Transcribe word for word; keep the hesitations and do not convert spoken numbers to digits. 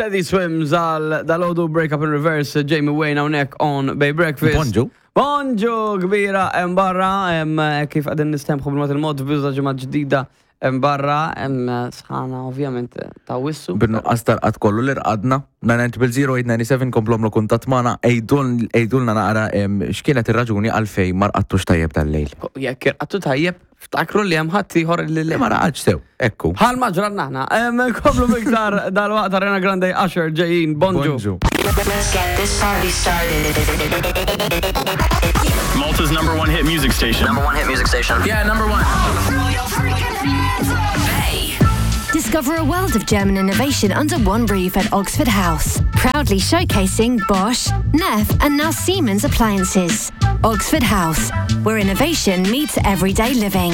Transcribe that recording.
Teddy Swims għal dalgħodu Break Up in Reverse, Jamie Wayne hawnhekk on Bay Breakfast. Bonġu. Bonġu kbira hemm barra, hemm kif qegħdin nistemħu bil-mod il-mod biża ġimgħa ġdida hemm barra, hemm sħana ovvjament ta' wissu. Bin-nuqqas tal-qat kollu li rqadna, nine zero zero eight nine seven komplu agħmlu kuntatt magħna, għidulna naqra em, x'kienet ir-raġuni għalfejn ma rqadtux tajjeb tal-lejl. Jekk irqadtu tajjeb, ftakru li hemm ħadd ieħor li Li ma raqadx sew, ekku. Bħal ma ġranna aħna. Em, Komplu miktar dal-waqt Ariana Grande, Usher ġejjin, bonġu. Bonġu. Let's get this party started. Malta's number one hit music station. Number one hit music station. Yeah, number one. Discover a world of German innovation under one roof at Oxford House. Proudly showcasing Bosch, Neff, and now Siemens appliances. Oxford House, where innovation meets everyday living.